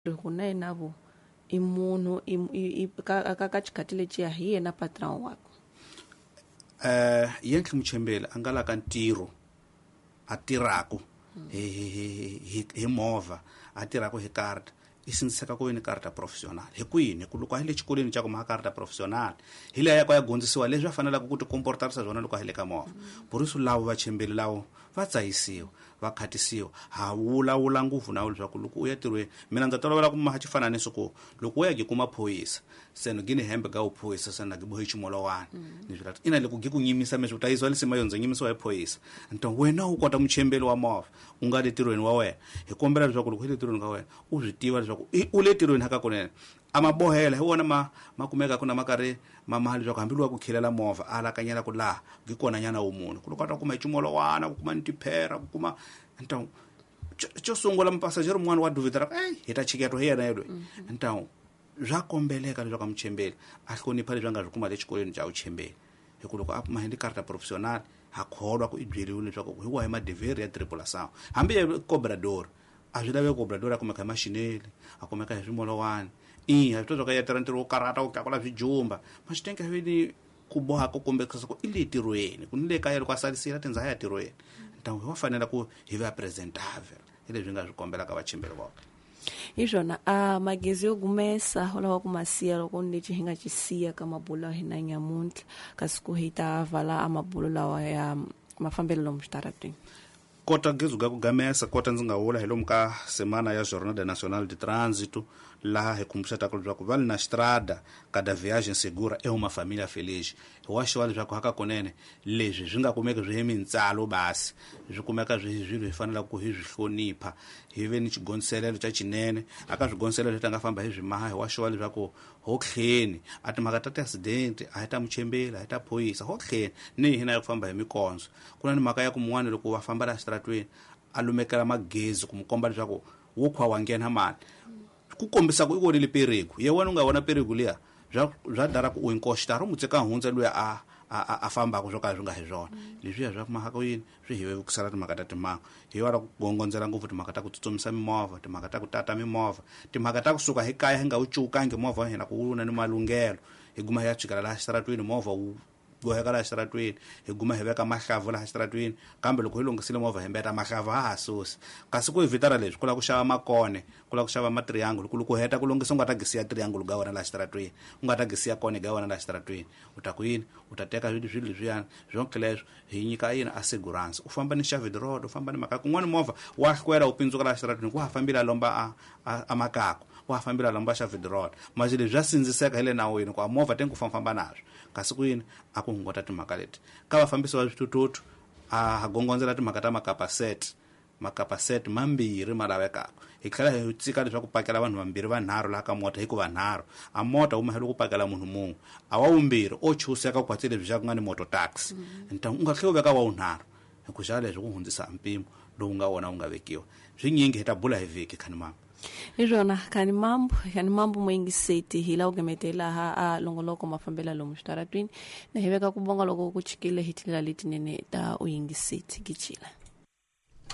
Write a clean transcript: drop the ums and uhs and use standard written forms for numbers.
Ku na yena vo i munhu i ka xikhati lexiya hi yena patron wakwe. Yentli Muchembeli a nga la ka ntirho a tirhaku hi movha, a tirhaku hi karata, i sindziseka ku ve ni karata professional. Hi kwini? Hi ku loko a yi le xikolweni xa ku maha karata professional, hi leya ya ku ya dyondzisiwa leswi a faneleke ku ti komportarisa swona loko a yi le ka movha. Boriso lavo vachembeli lavo va tsahisiwa, va khatisiwa. Ha vulavula ngopfu na leswaku loko u ya tirhweni, mina ndza tolovela ku maha xifananiso ku loko u ya gi kuma phorisa, se no gini hembe ga uphorisa se na gi bohe ximolowani. Ni swi ina loko gi ku nyimisa meswi u ta yisiwa lisima yo ndzi nyimisiwa hi phorisa. Nto wena u kota muchembeli wa movha, u nga le tirhweni wa wena. Hi kombela leswaku loko u le tirhweni ka wena, u swi tiva leswaku u le tirhweni hakakunene. A ma bohela hi wona ma kumekaka na ma karhi ma maha leswaku hambi lowa ku khilela movha a alakanyela ku laha gi kona nyana wu munhu. Ku loko a ta kuma hi ximolwana, ku kuma ni tiphera, ku kuma ntawu. Xo sungula mupasajero mun'wana wa duvita ra ku, ey, hi ta chiketwa hi yena yelweyo. Ntawu swa kombeleka leswaku a muchembeli a hlonipha leswi a nga swi kuma le xikolweni xa vuchembeli. Hi ku loko a mahe ni karata professional, ha kholwa ku i byeriwile leswaku hi wahi madivheri ya tripulação. Hambi ya cobrador, a swi laveki cobrador a kumeka hi maxineli, a kumeka hi swimolowani. I, ha swi tiva swa ku ya tirha ntirho wo karata, wo tlakula swijumba. Ma swi tenga ni ku boha ku kombekisa ku i le tirhweni, ku ni le kaya loko a salisile a tindza ya tirhweni. Ntawu wa fanela ku hi va presentable. Hi leswi nga swi kombelaka vachembeli voke. Hi swona, a magezi yo gumesa u lava ku ma siya loko ni lexi hi nga xi siya ka mabulo ya hina nyamuntlha, kasi ku hi ta vala a mabulo lawa ya mafambelo lomu xitarateni. Kota gezi ga ku gamesa, kota ndzi nga vula hi lomu ka semana ya Jornada Nacional de Trânsito, laha hi khumbuxetaka leswaku va le na strada cada viagem segura é uma família feliz. Hi wa xiwa leswaku hakakunene leswi swi nga kumeki swi hi mintsalo basi, swi kumeka swi swilo hi fanelaka ku hi swi hlonipha, hi ve ni xigondziselelo xa xinene. Aka swigondziselelo leswi ta nga famba hi swi maha, hi wa xiwa leswaku ho tlheni a timhaka ta ti-accident a hi ta muchembeli, a hi ta phorisa, ho tlheni ni hina ya ku famba hi mikondzo. Ku na ni mhaka ya ku mun'wana loko va famba laha xitaratweni a lumekela magezi ku mu komba leswaku wo khwa wa nghena mani, ku kombisa ku i vonile perigo. Ye wena u nga vona perigo liya bya dara ku u inkoxitara u mu tseka hundza luya a fambaka swo ka swi nga hi swona. Leswiya swa mhaka yini swi hi vevukisela timhaka ta timhangu. Hi wona ku gongondzela ngopfu timhaka ta ku tsutsumisa mimovha, timhaka ta ku tata mimovha, timhaka ta kusuka hi kaya hi nga wu cukangi movha wa hina ku wu na ni malunghelo, hi guma hi ya tshikela laha xitaratweni movha wu boheka laha xitaratweni, hi guma hi veka mahlavu laha xitaratweni, kambe loko hi lunghisile movha hi mbeta mahlavu ha ha susi. Kasi ku evitara leswi, ku lava ku xava makone, ku lava ku xava matriangle, ku loko u heta ku lunghisa u nga ta gisiya triangle ga wena laha xitaratweni, u nga ta gisiya kone ga wena laha xitaratweni. U ta ku yini? U ta teka swilo leswiyani, swonke leswo hi nyika yini assurance. U famba ni Xavid Road, u famba ni mhaka kun'wana movha wa hlwela u pindzuka laha xitaratweni, wa ha fambile a lomba a makaku, wa ha fambile a lomba Xavid Road. Manje leswi swa sindziseka hi le nawini ku a movha tengi ku famba naswo. Kasi ku yini? A ku hunguta timhaka leti. Ka vafambisi va swithuthuthu a ha gongondzela timhaka ta makapaset, makapaset mambirhi ma lavekaka. Hi tlhela hi tsika leswaku pakela vanhu vambirhi vanharhu laha ka mota, hikuva nharhu a mota wu mahelo ku pakela munhu mun'we, a wa vumbirhi o chuseka ku kwatsi leswi xa ku nga ni moto taxi. Ntangu u nga tlhela u veka wa vunharhu, hi ku xa leswi ku hundzisa mpimo lowu nga wona wu nga vekiwa. Swinyingi hi ta bula hi vhiki khani mama. Hi swona, khani mambo, khani mambo muyingiseti hi laha ku gemetela ha a longoloko mafambela lomu xitaratwini, na hi veka ku bonga loko ku chikile hi tindlela letinene ta uyingiseti gichila.